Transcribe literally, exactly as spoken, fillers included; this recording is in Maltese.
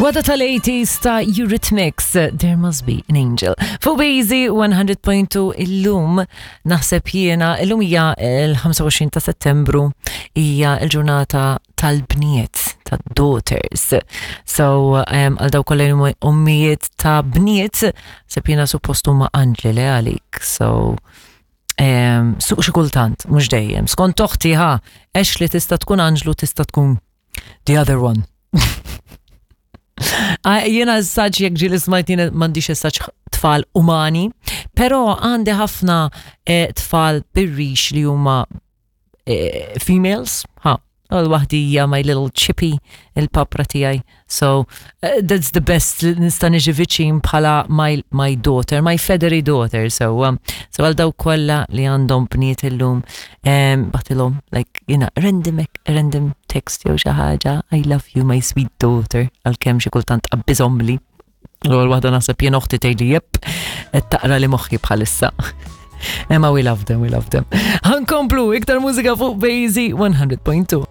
Wada tal-eighties ta' Eurythmics, There Must Be an Angel. Fuq Bazy one hundred point two illum naħseb jiena, illum hija l-ħamsa u għoxrin ta' Settembru, hija l-ġurnata tal-bniet, ta' daughters. So, um, għal dawk kollha li huma ommijiet ta' bniet, naħseb jiena suppost huma anġli li għalik. So, um, suq xi kultant, mhux dejjem. Skont oħti ħa, għax li tista' tkun anġlu, tista' tkun the other one. Ah, jiena s-saċ jek ġili smajt, jiena m'għandix s-saċ tfal umani, pero għandi ħafna eh, tfal birrix li huma eh, females, ha, għal waħdija my little Chippy, il-papra tiegħi. So, uh, that's the best li nista' niġi viċin bħala my, my daughter, my feathery daughter. So, um, so għal dawk kollha li għandhom bniet illum, um, bagħtilhom, like, you know, random, random text jew xi ħaġa, "I love you, my sweet daughter," għalkemm xi kultant qabbiżhomli. L-ewwel waħda naħseb jien oħti tgħidli jep, qed taqra li moħħi bħalissa. Imma we love them, we love them. Ħa nkomplu, iktar mużika fuq Bazy one hundred point two.